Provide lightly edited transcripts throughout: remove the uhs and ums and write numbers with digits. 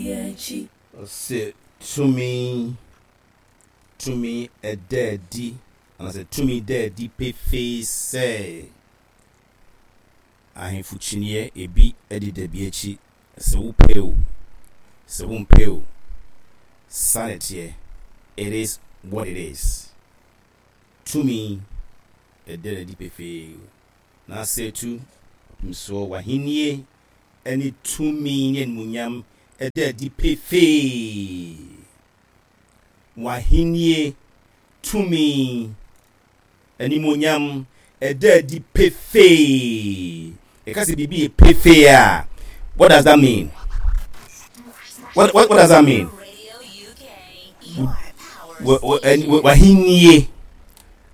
Ɔse tumi, tumi ɛda adi, anaasɛ tumi da adi pefee sɛ ahemfo kyiniiɛ ebi deda bi akyi, sɛ wopɛ o, sɛ wompɛ o, saa na ɛteɛ, it is what it is. Tumi ɛda adi pefee, na sɛ tu nsoɔ w'ahennie ne tumi ne animuonyam da adi pefee. W'ahennie, tumi, animuonyam ɛda adi pefee. Yɛka sɛ biribi yɛ pefee a, what does that mean? What, what, what does that mean? W'ahennie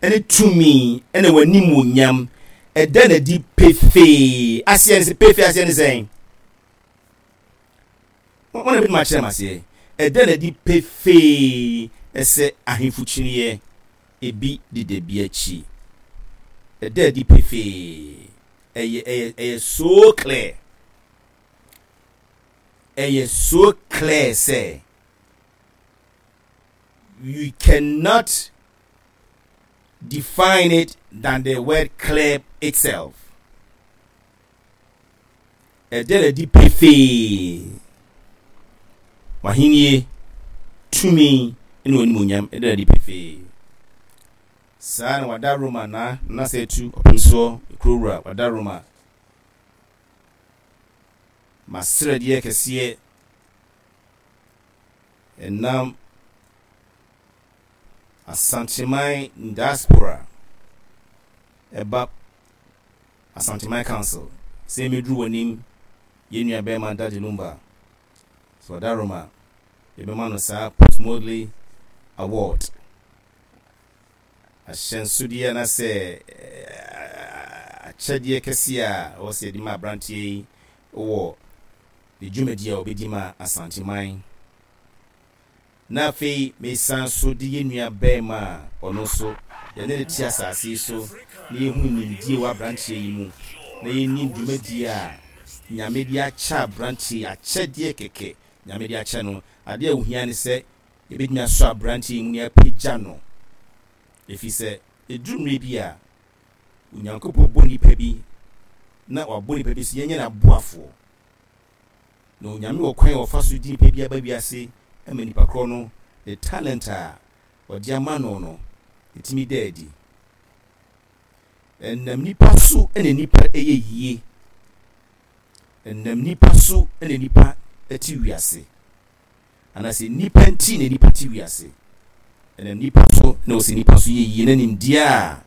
ne tumi ne w'animuonyam ɛda no adi pefee. Aseɛ ne sɛ pefee aseɛ ne sɛn? Wɔn na bɛtumi akyerɛ m aseɛ. Ɛda no adi pefee sɛ ahemfo kyiniiɛ ebi deda bi akyi. Ɛda adi pefee. Ɛyɛ ɛyɛ ɛyɛ so clear. Ɛyɛ so clear sɛ you cannot define it than the word clear itself. Ɛda no adi pefee. W'ahenni, tumi ne w'animuonyam ɛda no adi pefee. Saa na wada Roma na nasa atu ɔpem soɔ kuro wura wada Roma. Masrɛdeɛ kɛseɛ ɛnam Asanteman diaspora ɛba Asanteman Council sɛ yɛmmɛduru w'anim yɛn nua bɛrima Daddy Lumba sɛ ɔda Roma yɛbɛma no saa Postmodley Award ahyɛnsodeɛ anaasɛ akyɛdeɛ kɛseɛ a ɛwɔ sɛ yɛde ma aberanteɛ yi wɔ ne dwumadie a ɔbɛdi ma Asanteman. Na afei mesan nso de yɛn nua barima a ɔno nso yɛne no te asase yi so na yɛhunu nimdie wɔ abranteɛ yi mu na yɛnim dwumadie a Nyame de akyɛ abranteɛ yi, akyɛdeɛ kɛkɛ Nyame de akyɛ no, adeɛ a ohia ne sɛ yɛbɛtumi asɔ abranteɛ yi mu na yɛapagya no, ɛfiri sɛ ɛduru mmerɛ bi a Onyankopɔn bɔ nipa bi na wabɔ nipa bi sɛ yɛnyɛ n'aboafoɔ. Na Onyame wɔ kwan a ɔfa so de nipa bi aba wiase ma nipa korɔ no ne talent a ɔde ama no no ɛtumi da adi. Ɛnam nipa so na nipa yɛ yie. Ɛnam nipa so na nipa te wiase. Anaasɛ nnipa nti na nnipa te wiase. Ɛnam nnipa so na ɔsɛ nnipa so yɛ yie na nimdeɛ a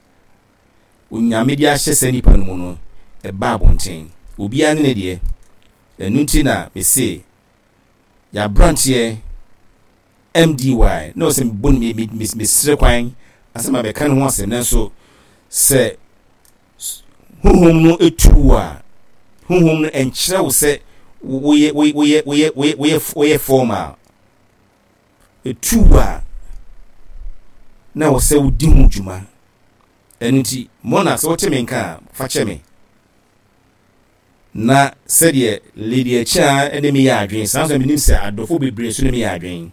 Onyame de ahyɛ saa nipa no mu no ɛba abɔnten. Obiara ne ne deɛ. Ɛno nti na mese yɛaberanteɛ MDY na ɔsɛ mebɔ ne mesrɛ kwan asɛ ma bɛka ne ho asɛm nanso sɛ Honhom no tu wo a, honhom no nkyerɛ wo sɛ woyɛ woyɛ woyɛ woyɛ woyɛ woyɛ formal. Etu wo a, na wɔ sɛ wodi ho dwuma. Ɛno nti, Mona, sɛ wote me nka a, fa kyɛ me. Na sɛdeɛ Lady Akyea ne me yɛ adwene, saa nso na menim sɛ adɔfo bebree nso ne me yɛ adwene.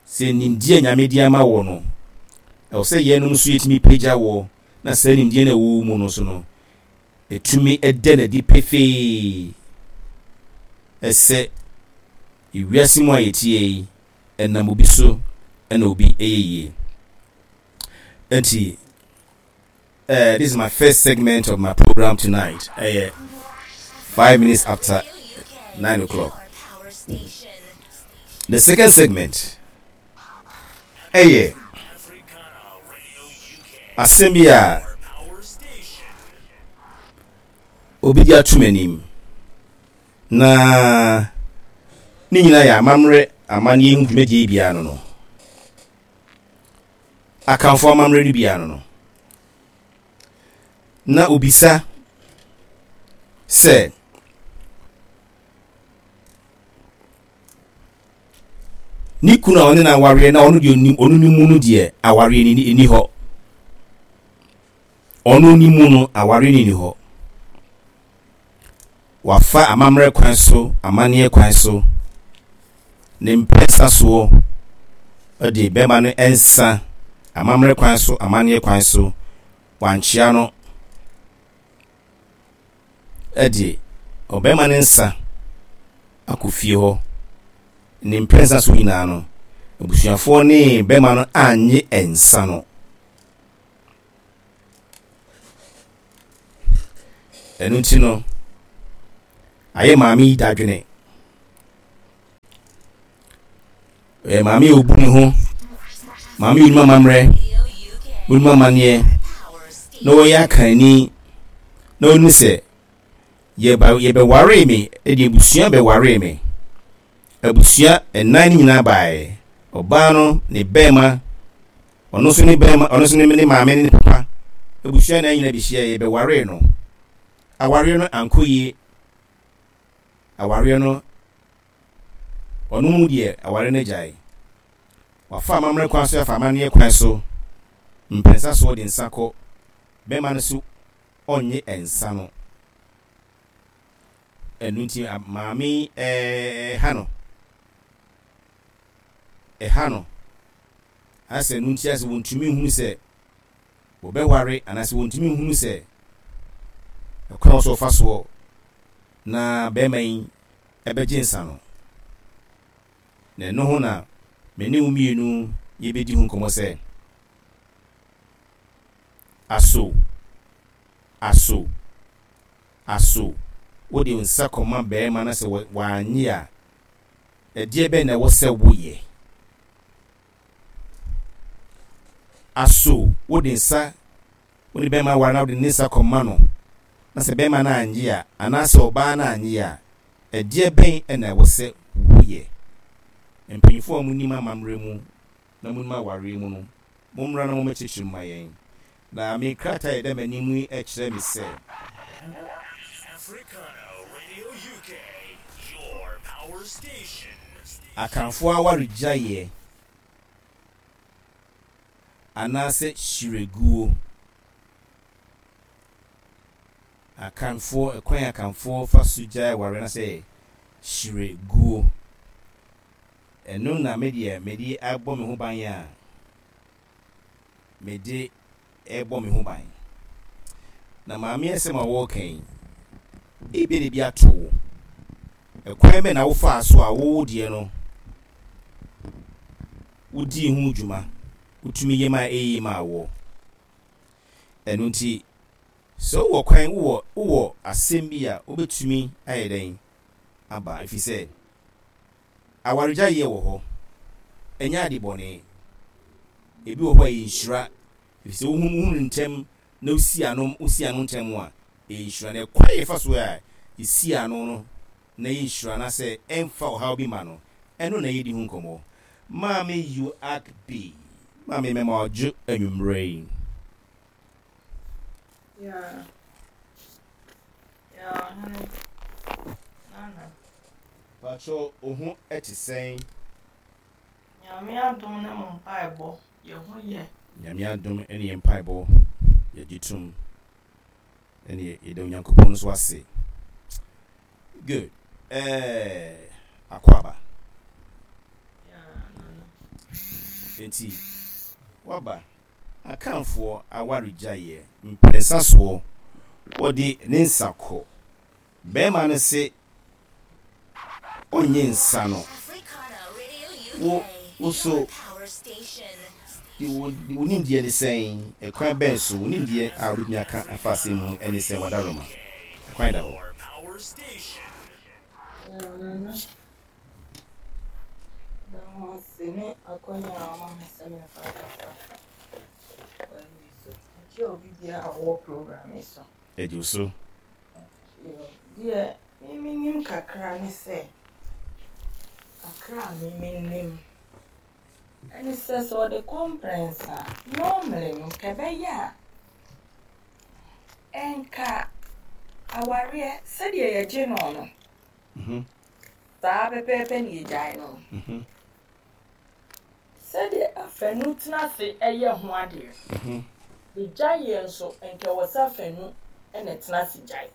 Sɛ nimdeɛ a Nyame de ama woɔ no, ɛwɔ sɛ yɛnom nso yɛtumi pagya woɔ na saa nimdeɛ no a ɛwɔ wo mu no nso no, ɛtumi da no adi pefee sɛ ewiase mu a yɛteɛ yi, ɛnam obi so na obi yɛ yie. Nti, uh, this is my first segment of my program tonight. Ɛyɛ 9:05. The second segment, ɛyɛ asɛm bi a obi de ato m'anim na ne nyinaa yɛ amammerɛ amanneɛ ho dwumadie biara no no Akanfoɔ amammerɛ no biara no no na obisa sɛ ne kunu a ɔne no awareɛ na ɔno deɛ ɔnim ɔno ne mu no deɛ awareɛ no ni hɔ ɔno ne mu no awareɛ no ni hɔ wafa amammerɛ kwan so amanneɛ kwan so. Ne mprɛnsa soɔ de bɛrima no nsa amammerɛ kwan so amanneɛ kwan so wankyea no de ɔbarima no nsa akɔ fie hɔ. Ne mprɛnsa so nyinaa no, abusuafoɔ ne bɛrima no annye nsa no. Ɛno nti no, ayɛ maame yi dadwene. Ɔyɛ maame a obu ne ho, maame a onim amammerɛ, onim amanneɛ, na ɔyɛ akanni, na onim sɛ yɛba yɛbɛwaree me, ɛde abusua bɛwaree me. Abusua nnan no nyinaa baeɛ. Ɔbaa no, ne bɛrima, ɔno nso ne bɛrima, ɔno nso ne ne maame ne ne papa. Abusua nnan nyinaa bɛhyia yɛbɛwaree no. Awareɛ no ankɔ yie. Awareɛ no Ɔno mu deɛ aware no agyae. Wafa amammerɛ kwan so afa amanneɛ kwan so mprɛnsa so ɔde nsa kɔ bɛrima no so ɔnnye nsa no. Ɛno nti maame yi ɛha no. Ɛha no. Asɛ ɛno nti asɛ wɔntumi nhunu sɛ wɔbɛware anaasɛ wɔntumi nhunu sɛ ɛkwan wɔ so ɔfa soɔ na bɛrima yi bɛgye nsa no. Na ɛno ho na me ne wo mmienu yɛbɛdi ho nkɔmmɔ sɛ, Aso, aso, aso wode wo nsa kɔma barima na sɛ wannye a, ɛdeɛ bɛn na ɛwɔ sɛ woyɛ? Aso wode nsa Wo ne bɛrima ware na wode ne nsa kɔma no, na sɛ bɛrima no annye a, anaasɛ ɔbaa no annye a, ɛdeɛ bɛn na ɛwɔ sɛ woyɛ? Mpanyimfoɔ a monim amammerɛ mu na monim awareɛ mu no, mommra na mommɛkyerɛkyerɛ mu ma yɛn. Na me krataa a ɛda m'anim yi kyerɛ me sɛ. Akanfoɔ awaregyaeɛ. Anaasɛ hyireguo. Akanfoɔ, ɛkwan a Akanfoɔ fa so gyae awareɛ anaasɛ hyireguo. Ɛno na me deɛ mede abɔ me ho ban a mede rebɔ me ho ban. Na maame asɛm a wɔreka yi, ebia na ebi ato wo. Ɛkwan bɛn na wofaa so a wo deɛ no wodii ho dwuma, wotumi yɛ maa eye maa woɔ. Ɛno nti, sɛ wowɔ kwan, wowɔ, wowɔ asɛm bi a wobɛtumi ayɛ dɛn aba, ɛfiri sɛ awaregyaeɛ wɔ hɔ, ɛnyɛ ade bɔne. Ebi wɔ hɔ a ɛyɛ nhyira, ɛfiri sɛ wohunu, wohunu ntɛm na wosi ano, wosi ano ntɛm a, ɛyɛ nhyira. Na ɛkwan a yɛfa so a yɛsi ano no na ɛyɛ nhyira anaasɛ ɛmfa ɔhaw bi ma no, ɛno na yɛredi ho nkɔmmɔ. Maame Uakbi, Maame mɛma wadwo anwummerɛ yi. Yeah. Yeah, ɔhene. Nana. Pacho, wo ho te sɛn? Nyame adom ne mo mpaebɔ, yɛ ho yɛ. Nyame adom ne yɛn mpaebɔ, yɛgye tom. Ɛneɛ yɛda Onyankopɔn nso ase. Good. Ɛɛ akwaaba. Enti waba Akanfoɔ awaregyaeɛ mprɛnsa soɔ wɔde ne nsa kɔ. Bɛrima no se ɔnnye nsa no. Wo wo so de wo wo nimdeɛ ne sɛn? Ɛkwan bɛn so wo nimdeɛ a wobɛtumi aka afa asɛm mu ne sɛn Wadaroma? Ɛkwan da hɔ. Nana, da ho ase ne akwanya a wama me sɛ memfa nkasa kwan yi so. Mekyia obi biara a ɔwɔ program yi so. Ɛgye wo so. Deɛ me menim kakra ne sɛ, kakra a me menim ɛne sɛ, sɛ ɔde kɔmprɛnsa a, normally no nka ɛbɛyɛ a, ɛnka awareɛ sɛdeɛ yɛgye no no, saa pɛpɛɛpɛ na yɛgyae no. Sɛdeɛ afanu tena ase yɛ ho adeɛ. Ne gyaeɛ nso, nka ɛwɔ sɛ afanu na ɛtena ase gyae.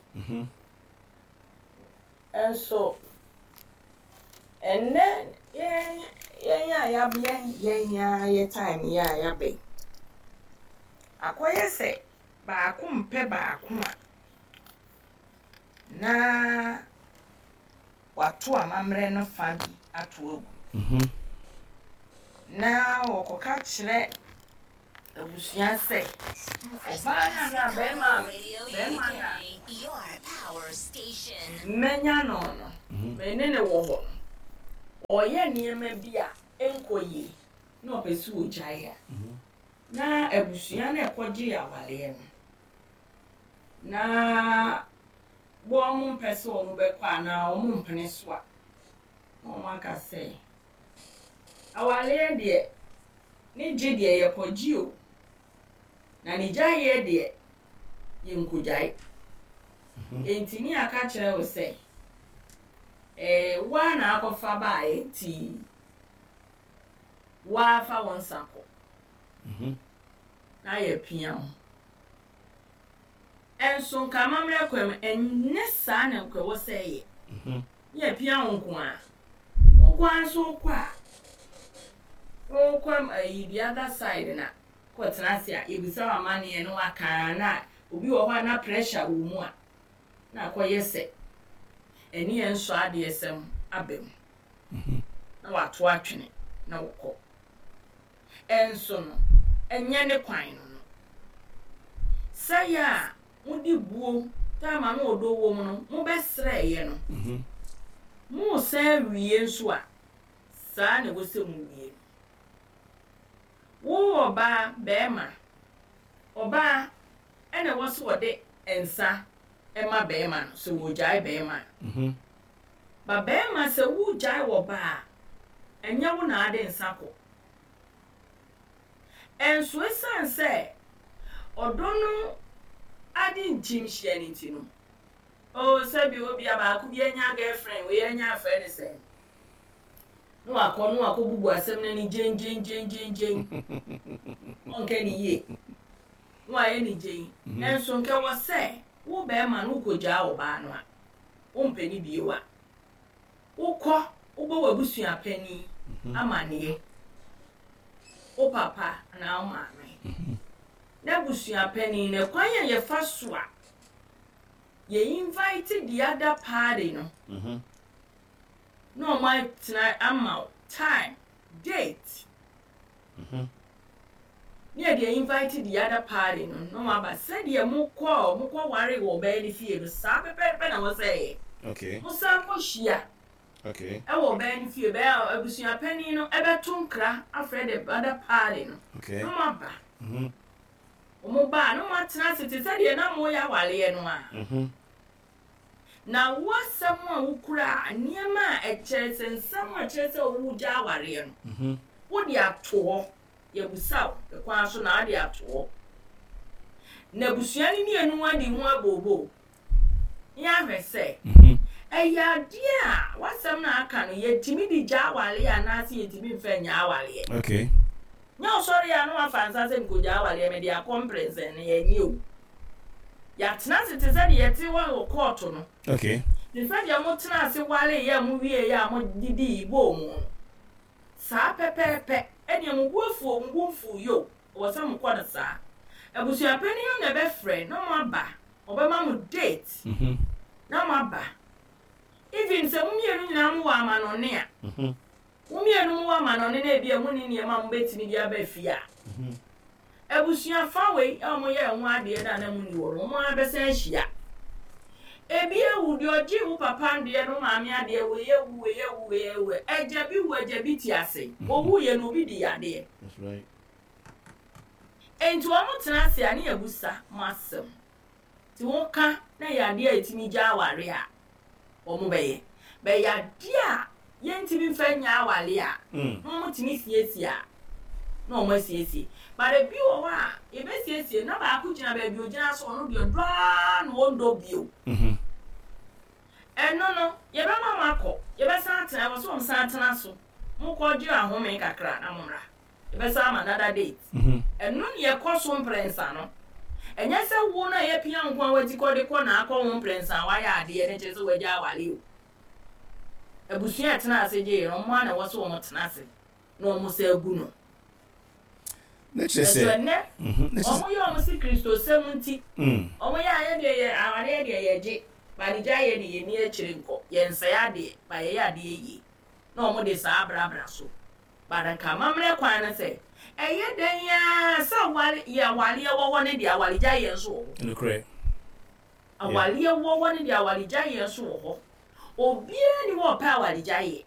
Nso ɛnnɛ Yɛn yɛn a yɛabɛn yɛn ara yɛ time yi a yɛabɛn. Akɔyɛ sɛ baako mpɛ baako a, na wato amammerɛ no fa bi ato agu. Na wɔkɔka kyerɛ abusua sɛ, ɔbaa no anaa barima a barima no a manya no no, me ne no wɔ hɔ no, ɔreyɛ nneɛma bi a ɛnkɔ yie na ɔpɛ sɛ ɔgyae a, na abusua no a ɛkɔgyee awareɛ no, na wɔmpɛ sɛ wɔbɛkɔ anaa wɔmpene so a, na wɔaka sɛ, Awareɛ deɛ, ne gye deɛ yɛkɔgye o, na ne gyaeɛ deɛ, yɛnkɔgyae. Enti ne aka kyerɛ wo sɛ, ee, wo ara na akɔfa baeɛ nti, wo ara fa wo nsa kɔ na yɛapia wo. Nso nka amammerɛ kwan mu, ɛnyɛ saa na nka ɛwɔ sɛ ɛyɛ. Ne apia wo nko ara. Wo nko ara nso wokɔ a, wokɔ ayi the other side na kɔtena ase a, yɛbisa wo amanneɛ na waka a, na obi wɔ hɔ a na pressure wɔ mu a, na akɔyɛ sɛ ɛne yɛn nsɔ adeɛsɛm aba mu. Na wato atwene na wokɔ. Nso no, ɛnyɛ ne kwan no no. Sɛeɛ a mode buo time a na ɔdɔ wom no mobɛsrɛeɛ no, moresan awie nso a, saa na ɛwɔ sɛ mowie no. Wo ɔbaa, barima, ɔbaa ɛna ɛwɔ sɛ ɔde nsa ma barima no sɛ ɔregyae barima a. Ba barima sɛ woregyae ɔbaa a, ɛnyɛ wo na ade nsa kɔ. Nso esiane sɛ ɔdɔ no ade nkyim hyia no nti no, oh, sɛbi obia baako bi anya girlfriend, wei anya afrɛ ne sɛn, na wakɔ na wakɔbubu asɛm no ani gyengyengyengyengyeng, ɔnka ne yie, na wayɛ ne gyen. Nso nka ɛwɔ sɛ wo barima no wokɔgyaa ɔbaa no a, wompɛ no bio a, Wokɔ, wobɔ w'abusua panin amaneɛ, wo papa anaa wo maame. N'abusua panin no, kwan a yɛfa so a yɛ invite the other party no na wɔn atena ama wo time, date. Ne yɛde invite the other party no na wɔn aba sɛdeɛ mo kɔɔ mo kɔ ware wɔ ɔbaa no fie no saa pɛpɛɛpɛ na wɔsɛ yɛ. Okay. Mo san kɔ hyia. Okay. Ɛwɔ ɔbaa no fie bɛyɛ abusua panin no ɛbɛto nkra afrɛ the other party no. Okay. Na wɔn aba. Wɔn ba a na wɔn atena ase te sɛ deɛ na mo yɛ awareɛ no a. Na wo asɛm a wokura a, nneɛma a ɛkyerɛ sɛ nsɛm a ɛkyerɛ sɛ woregya awareɛ no, wode ato hɔ. Yɛabisa wo kwan so na wode ato hɔ. Na abusua no mmienu adi ho abooboo na yɛahwɛ sɛ ɛyɛ adeɛ a w'asɛm no a aka no yɛtumi de gya awareɛ anaasɛ yɛntumi mfa nnya awareɛ. Okay. Nyɛ ɔsɔre a na wafa nsa sɛ mekɔgya awareɛ mede akɔ mprɛnsɛn no yɛnyɛ o. Yɛatena ase te sɛ deɛ yɛte hɔ wɔ kɔɔto no. Okay. Te sɛ deɛ motena ase wareeɛ a mowieeɛ a modidii bɔɔ mu no. Saa pɛpɛɛpɛ. Ɛnneɛ mo bo afu o, mo bo mfuu yo, ɛwɔ sɛ mokɔ no saa. Abusuapanin no na ɛbɛfrɛ na moaba, ɔbɛma mo date na moaba. Even sɛ mo mmienu nyinaa mowɔ amanɔne a, mo mmienu mowɔ amanɔne na ebia monni nneɛma a mobɛtumi de aba fie a, Abusua fa wei a wɔyɛɛ ho adeɛ no a na monni hɔ no, wɔn ara bɛsan ahyia. Ebi awu, deɛ ɔgyee wo papa adeɛ no, wo maame adeɛ, wei awu, wei awu, wei awu. Agya bi wu, agya bi te ase. Ɔwuiɛ no, obi dii adeɛ. Enti wɔtena ase a, ne yɛabusa mo asɛm. Nti woka na ɛyɛ adeɛ a ɛtumi gya awareɛ a, wɔbɛyɛ. But ɛyɛ adeɛ a yɛntumi mfa nnya awareɛ a, na wɔtumi siesie a, na wɔasiesie. But ebi wɔ hɔ a, yɛbɛsiesie na baako gyina baabi a ɔgyina so, ɔno deɛ ɔdɔ ara na ɔndɔ bio. Ɛno no, yɛbɛma mo akɔ, yɛbɛsan atena, ɛwɔ sɛ wɔsan tena so. Mokɔgye ahome kakra na mommra. Yɛbɛsan ama another date. Ɛno ne ɛkɔ so mprɛnsa no. Ɛnyɛ sɛ wo no a yɛapia wo nko ara w'ati kɔ de kɔ na akɔ ho mprɛnsa a woayɛ adeɛ no kyerɛ sɛ woagya aware o. Abusua a ɛtenaa ase gyeeɛ no, wɔn ara na ɛwɔ sɛ wɔtena ase na wɔsan gu no. Ne kyerɛ sɛ. Nanso ɛnnɛ, wɔyɛ wɔn se Kristosɛm nti, wɔyɛ a yɛdeɛ yɛ awareɛ deɛ yɛgye, but gyaeɛ deɛ yɛnni akyire nkɔ, yɛnsɛe adeɛ, but yɛyɛ adeɛ yie. Na wɔde saa abrabra so. But nka amammerɛ kwan no sɛ, ɛyɛ dɛn ara sɛ aware, yɛ awareɛ wɔ hɔ no deɛ awaregyaeɛ nso wɔ hɔ. Nokorɛ. Awareɛ wɔ hɔ no deɛ awaregyaeɛ nso wɔ hɔ. Obiara nni hɔ a ɔpɛ awaregyaeɛ.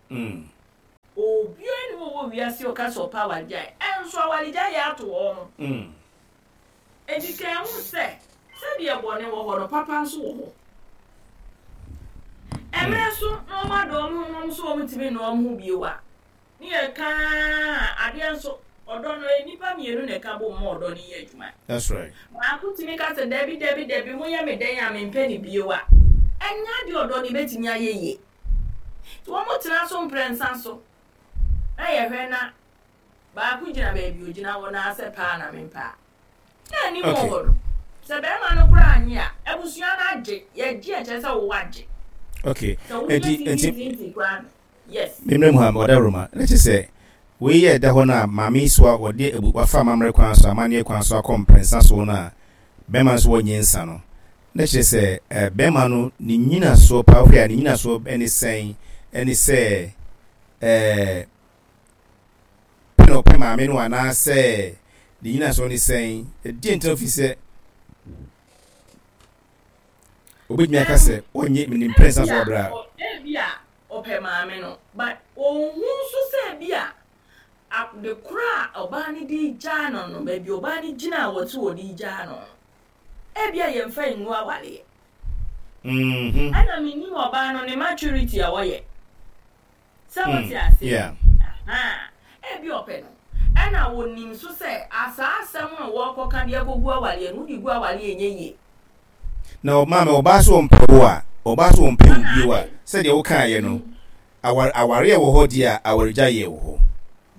Obiara nni hɔ wɔ wiase a ɔka sɛ ɔpɛ awaregyaeɛ. Nso awaregyaeɛ ato wɔn. Enti ka hu sɛ, sɛdeɛ bɔne wɔ hɔ no, papa nso wɔ hɔ. Mmerɛ so na wɔadɔ wɔn ho na wɔn nso wɔntumi nnɔ wɔn ho bio a, Ne yɛ ka ara adeɛ nso, ɔdɔ no, ɛyɛ nnipa mmienu na ɛka bom ma ɔdɔ no yɛ adwuma. That's right. Baako tumi ka sɛ, Dabi, dabi, dabi, moyɛ me dɛn a mempɛ no bio a, ɛnyɛ adeɛ a ɔdɔ no bɛtumi ayɛ yie. Nti wɔtena so mprɛnsa so na yɛhwɛ na baako gyina baabi ɔgyina hɔ no ara sɛ pɛ a na mempɛ a, Na anim wɔ hɔ no, sɛ bɛrima no koraa annye a, abusua no agye. Yɛgye a kyerɛ sɛ wo agye. Okay. Sɛ woyɛ tintintintin koraa no, yes. Mmerɛ mu ha, ɔda Roma. Na kyerɛ sɛ, wei yɛ ɛda hɔ no a, maame yi so a wɔde abu, wafa amammerɛ kwan so, amanneɛ kwan so akɔ mprɛnsa so no a, bɛrima nso wɔnyɛ nsa no. Na kyerɛ sɛ, eh, bɛrima no, ne nyinasoɔ paa, wohwɛ a, ne nyinasoɔ ne sɛn? Ɛne sɛ, eh, Pɛ na ɔpɛ maame no anaasɛ ne nyinasoɔ ne sɛn? Ɛdeɛn nti na wofii sɛ obɛtumi aka sɛ ɔnye ne mprɛnsa so ɔbrɛ a? Ebia ɔpɛ maame no but ɔnhu nso sɛ ebia ade korɔ a ɔbaa no de regyaa no no, baabi ɔbaa no gyina a wɔte wɔde regyaa no no, ebia yɛmfa ngu awareɛ. Ɛna mennim ɔbaa no ne maturity a ɔyɛ. Sɛ wote aseɛ? Ahaa. Ebia ɔpɛ no. Ɛna ɔnim nso sɛ saa asɛm a wɔrekɔka de akɔgu awareɛ no, wode gu awareɛ a ɛnyɛ yie. Na maame, ɔbaa sɛ ɔmpɛ wo a, ɔbaa sɛ ɔmpɛ wo bio a, sɛdeɛ wokaeɛ no, aware awareɛ wɔ hɔ deɛ a, awaregyaeɛ wɔ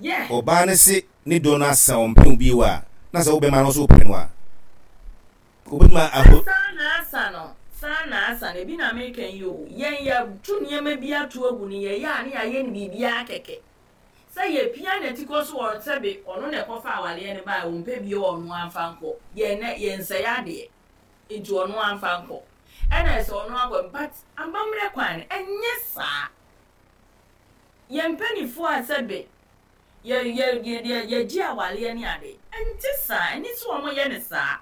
hɔ. Ɔbaa no se ne dɔ no asa, ɔmpɛ wo bio a, na sɛ wo bɛma no nso wopɛ no a, Wobɛtumi aho. Saa na asa no, saa na asa no, ebi na meka yi o, yɛn yɛto nneɛma bi ato agu no, yɛyɛ a ne yɛayɛ no biribiara kɛkɛ. Sɛ yɛpia n'atikɔ so wɔ sɛbe ɔno na ɛkɔfa awareɛ no baeɛ, ɔmpɛ bio a ɔno ara mfa nkɔ, yɛn nɛ yɛnsɛe adeɛ, nti ɔno ara mfa nkɔ. Ɛna ɛsɛ ɔno akɔ, but amammerɛ kwan no, ɛnyɛ saa. Yɛn mpaninfoɔ a sɛbe yɛ yɛ yɛ yɛgye awareɛ ne ade, ɛnte saa, ɛne sɛ wɔyɛ no saa.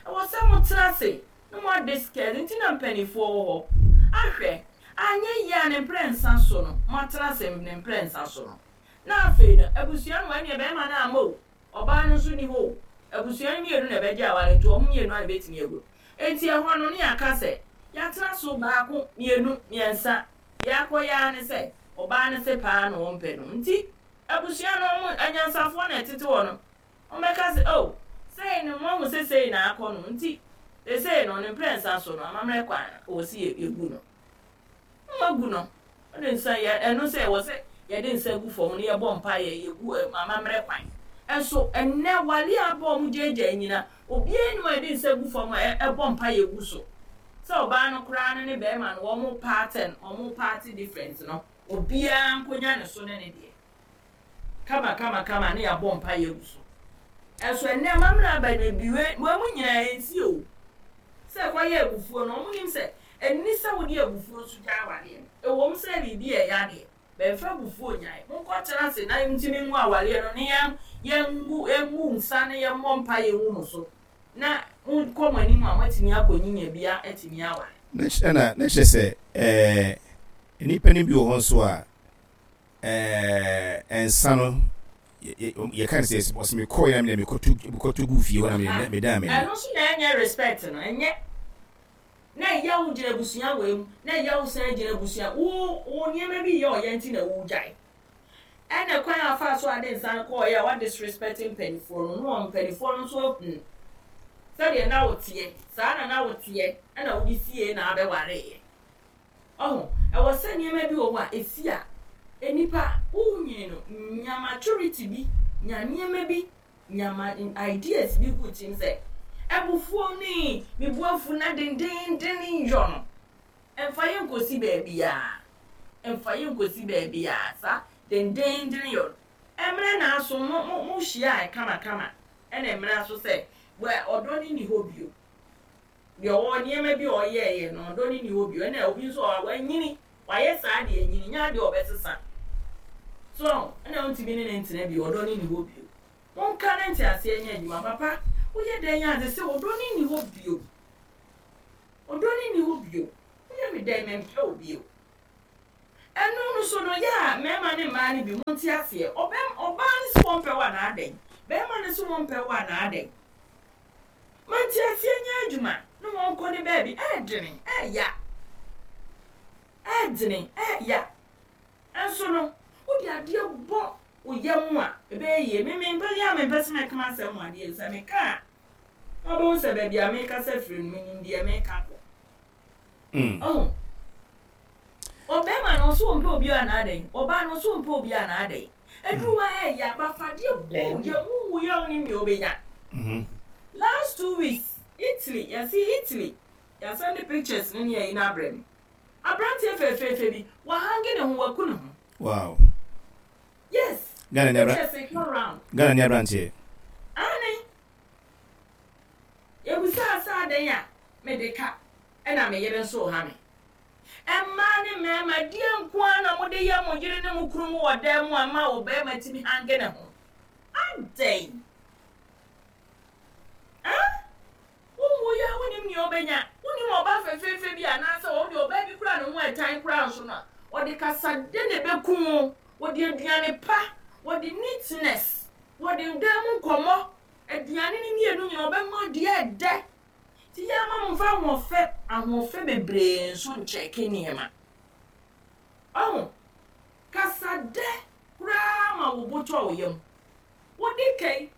Ɛwɔ sɛ motena ase na mo adiscuss, nti na mpaninfoɔ wɔ hɔ ahwɛ, anyɛ yie a ne mprɛnsa so no moatena ase ne mprɛnsa so no, na afei no abusua no ɛneɛ bɛɛma no amma o, ɔbaa no nso nni hɔ o, abusua no mmienu na ɛbɛgye aware nti wɔn mmienu a na ɛbɛtumi agu no. Nti ɛhɔ no ne yɛaka sɛ yɛatena so baako, mmienu, mmiɛnsa, deɛ akɔyɛ ara ne sɛ ɔbaa no se paa na ɔmpɛ no nti abusua no wɔn anyansafoɔ na ɛtete hɔ no Wɔbɛka sɛ, 'Oh, sei no, moahu sɛ sei na akɔ no, nti seesei no, ne mprɛnsa so no, amammerɛ kwan no, ɛwɔ sɛ yɛgu no. Na wɔagu no. Wɔde nsa, yɛ, ɛno sɛ ɛwɔ sɛ yɛde nsa gu fam na yɛbɔ mpaeɛ, yɛgu amammerɛ kwan. Nso ɛnnɛ, wale a aba a wɔgyaagyaa nyina, obiara nni hɔ a yɛde nsa gu fam a ɛbɔ mpaeɛ gu so. Sɛ ɔbaa no koraa no ne barima no, wɔn pattern, wɔn party difference no, obiara nkɔnya ne so ne ne deɛ. Kama kama kama ne yɛabɔ mpaeɛ agu so. Ɛnso ɛnnɛ amammerɛ aba no bi wei wɔn mu nyinaa ɛnsi o. Sɛ ɛkɔyɛ abufuo no wɔn nim sɛ ɛnni sɛ wode abufuo nso gyae awareɛ no. Ɛwom sɛ biribi a ɛyɛ adeɛ but mfa abufuo nnyae. Monkɔ tena ase na ntumi ngu awareɛ no ne yɛn yɛngu yɛngu nsa na yɛmmɔ mpaeɛ ngu mo so na monkɔ mo anim a moatumi akɔ nyinya bi atumi aware. Na kyerɛ sɛ ɛɛ nnipa no bi wɔ hɔ nso a Ɛɛ nsa no yɛka no sɛ ɔsɛ mekɔɔ yɛ na mede mekɔto mekɔto gu fie hɔ na mede medaa m'ani. Ɛno nso na ɛnyɛ respect no ɛnyɛ na ɛyɛ wo gyina abusua wei mu na ɛyɛ wo san gyina abusua wo wo nneɛma bi yɛ ɔyɛ nti na wogyae ɛna kwan a afa so ade nsa no kɔɔ yɛ a wa disrespect mpanimfoɔ no na wɔn mpanimfoɔ no nso ahu sɛdeɛ na woteɛ saa na na woteɛ ɛna wode sie na abɛwareeɛ. Ɔho, ɛwɔ sɛ nneɛma bi wɔ hɔ a ɛsi a, nnipa, wonyini no, nya maturity bi, nya nneɛma bi, nya ma ideas bi gu tirim sɛ, abufuo ne me bo afu na dendeenden yɔ no, ɛmfa yɛn nkɔsi baabiara. Mfa yɛ nkosi baabiara saa dendeenden yɔ no. Mmerɛ na aso mo mo mo hyiaɛ kama kama ɛna mmerɛ aso sɛ wɛ ɔdɔ no nni hɔ bio. Deɛ ɔwɔ nneɛma bi a ɔyɛɛyɛ no ɔdɔ no nni hɔ bio ɛna obi nso a wanyini wayɛ saa deɛ anyini nyɛ adeɛ a ɔbɛsesa. So ahu ɛna wontumi ne no ntena bio ɔdɔ no nni hɔ bio. Monka ne nteaseɛ nyɛ adwuma papa woyɛ dɛn a sese ɔdɔ no nni hɔ bio. Ɔdɔ no nni hɔ bio. Woyɛ me dɛn mempɛ wo bio. Ɛno no so no yɛ a mmarima ne mmaa no bi monte aseɛ ɔbɛm ɔbaa no se wɔmpɛ wo anaa dɛn barima no se wɔmpɛ wo anaa dɛn ma nteaseɛ nyɛ adwuma ne wɔnkɔ ne baabi ɛɛdene ɛɛya ɛɛdene ɛɛya nso no wode adeɛ bɔ wo yam a ɛbɛyɛ yie me mempɛ yɛ a mempɛ sɛ mɛka m'asɛm ho adeɛ sɛ meka a na wobɛhu sɛ baabi a mekasa firi no menim deɛ meka kɔ Ɔho. Ɔbɛrima no ɔso ɔmpɛ obi a na adɛn? Ɔbaa no ɔso ɔmpɛ obi a na adɛn? Aduru hɔ a ɛyɛ abafadeɛ bɔ yɛ mu wu yɛ wonim nea ɔbɛnya. Last 2 weeks, Italy, yɛse Italy, yɛasɛnde pictures no ne ayi no abrɛ me. Aberanteɛ fɛfɛɛfɛ bi, wahange ne ho, waku ne ho. Yes, Ghana ni abra pictures ka round. Ghana ni aberanteɛ. Aane. Yɛbisaa sɛ adɛn a mede ka ɛna me yere nso reha me. Mmaa ne mmarima, deɛn nko ara na mode yɛ mo yere ne mo kunu mo wɔ dan mu a ɛma ɔbarima tumi hange ne ho? Adɛn? Ah? Wonwuiɛ a wonim nea ɔbɛnya. Wonim ɔbaa fɛfɛɛfɛ bi anaasɛ ɔwo deɛ ɔbaa bi koraa ne ho ɛtan koraa nso no a, ɔde kasadɛ na ɛbɛku wo, wɔde aduane pa, wɔde neatness, wɔde dan mu nkɔmmɔ, aduane no mmienu nyinaa ɔbɛma deɛ ɛdɛ. Nti yɛ ama momfa ahoɔfɛ ahoɔfɛ bebree nso nkyɛke nneɛma. Ɔho, kasadɛ koraa ma wo bo tɔ wo yam. Wode kai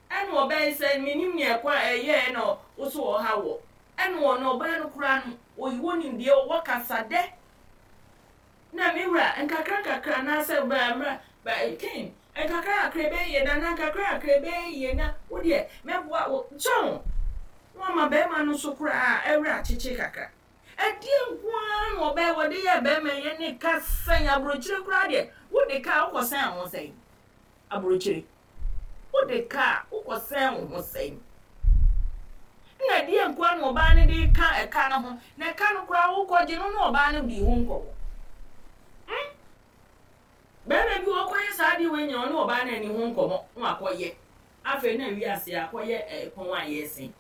ɛna ɔbɛyɛ sɛ menim nea ɛkɔ a ɛyɛɛ na wo so ɔha wɔ. Ɛna ɔno ɔbaa no koraa no, oyi wɔ nimdeɛ ɔwɔ kasadɛ. Na me wura, nkakra nkakra anaasɛ bra mmra ba Ken, nkakra nkakra ɛbɛyɛ yie na na nkakra nkakra ɛbɛyɛ yie na wo deɛ mɛboa wo. So na wama barima no nso koraa ɛwerɛ akyekye kakra. Ɛdeɛ nko ara na ɔbɛyɛ wɔde yɛɛ barima yi ɛne ka sɛn aburokyire koraa deɛ wode ka a wokɔsɛn wo ho sɛn aburokyire wode ka a wokɔsɛn wo ho sɛn na ɛdeɛ nko ara na ɔbaa no de ka ɛka no ho na ɛka no koraa wokɔgye no na ɔbaa no di ho nkɔmmɔ hmm bɛrima bi wɔkɔyɛ saa adeɛ wei nyina ɔne ɔbaa no ani ho nkɔmmɔ na wakɔyɛ afei na wiase akɔyɛ ɛkɔn a yɛsen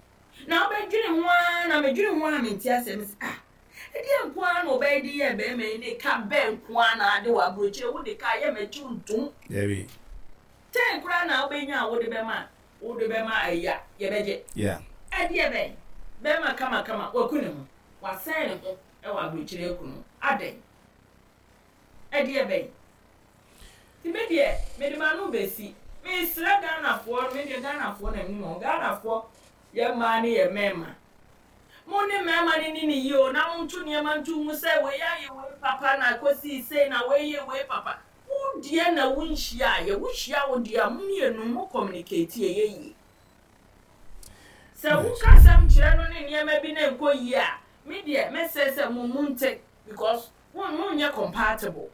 na wobɛdwene ho ara na medwene ho ara mente asɛm sɛ ah ɛdeɛ nko ara na ɔbɛyɛ de yɛ bɛrima yi ne ka bɛn nko ara na ade wɔ aburokyire wode ka yɛ m'akyi ntom Dabi. 10 koraa na wobɛnya a wode bɛma wode bɛma ayi a yɛbɛgye ɛdeɛ bɛn bɛrima kamakama waku ne ho wasɛn ne ho ɛwɔ aburokyire aku no adɛn ɛdeɛ bɛn nti me deɛ mede m'ano bɛsi mesrɛ Ghanafoɔ me deɛ Ghanafoɔ na menim wɔn Ghanafoɔ yɛ mmaa ne yɛ mmarima mo ne mmarima no ni ne yie o na monto nneɛma nto mu sɛ wei ayɛ wei papa na kɔsii sei na wei yɛ wei papa wo deɛ na wonhyia ayɛ wohyia wo deɛ a mo mmienu mo communicate ɛyɛ yie sɛ woka asɛm kyerɛ no ne nneɛma bi na nkɔ yie a me deɛ mɛsɛ sɛ mo mu nte because wo monyɛ compatible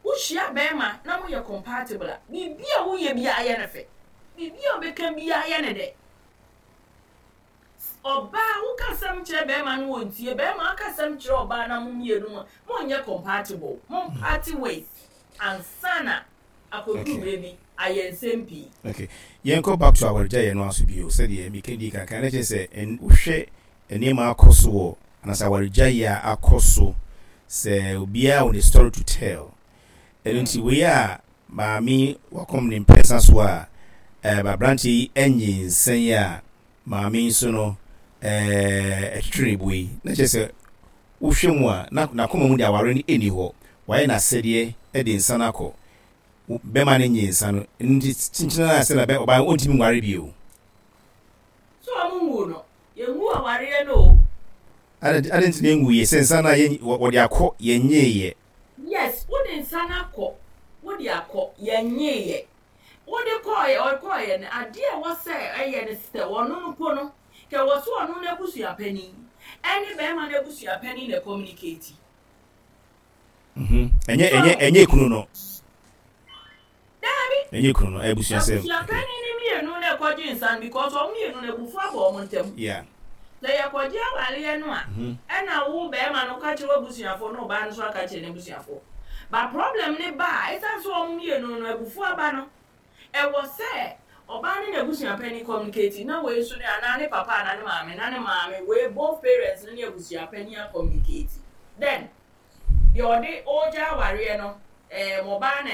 wohyia bɛrima na moyɛ compatible a biribi a woyɛ biara yɛ no fɛ biribi a wobɛka biara yɛ no dɛ ɔbaa woka asɛm kyerɛ bɛrima no wɔ ntie bɛrima aka asɛm kyerɛ ɔbaa na mo mmienu mu monyɛ compatible mo part ways ansa na akɔduru berɛ bi ayɛ nsɛm pii. Okay, yɛnkɔ back to awaregyaeɛ no aso bio sɛdeɛ meka di kankan na kyerɛ sɛ wohwɛ nneɛma akɔ so wɔ anaasɛ awaregyaeɛ a akɔ so sɛ obiara wɔ ne story to tell. Ɛno nti wei a maame wakɔm ne mprɛnsa so a aberanteɛ yi anyinsɛn a maame nso no ɛtwetwe ne bo yi na kyerɛ sɛ wohwɛ mu a na n'akoma mu de aware no ɛnni hɔ wayɛ n'asɛdeɛ de nsa no akɔ bɛma no nye nsa no nti kyenkyena a sɛ na bɛ ɔbaa ɔntumi nware bio. So ɔmo nwu no yɛnwu awareɛ no o. Ade nti na yɛnwu yɛ sɛ nsa no a wɔde akɔ yɛnyeeɛ. Yes, wode nsa no akɔ wode akɔ yɛnyeeɛ wode kɔɔyɛ ɔkɔɔyɛ no adeɛ a ɛwɔ sɛ ɛyɛ no sɛ ɔno no po no kɛ wɔ so ɔno no abusua panin ɛne bɛrima no abusua panin na communicate. Ɛnyɛ ɛnyɛ ɛnyɛ kunu no. Daabi. Ɛnyɛ kunu no, ɛyɛ abusuasɛm. Abusuapanyin no mmienu na ɛkɔgye nsa no because wɔn mmienu no abufuo aba wɔn ntam. Yeah. Sɛ yɛkɔgye awareɛ no a, ɛna wo barima no ka kyerɛ w'abusuafoɔ na ɔbaa no nso aka kyerɛ n'abusuafoɔ. But problem no ba a, ɛsiane sɛ wɔn mmienu no abufuo aba no, ɛwɔ sɛ ɔbaa ne n'abusuapanin communicate na wei nso ne anaa ne papa anaa ne maame na ne maame wei both parents no ne abusuapanin a communicate. Then deɛ ɔde ɔregya awareɛ no, ɛɛm ɔbaa na.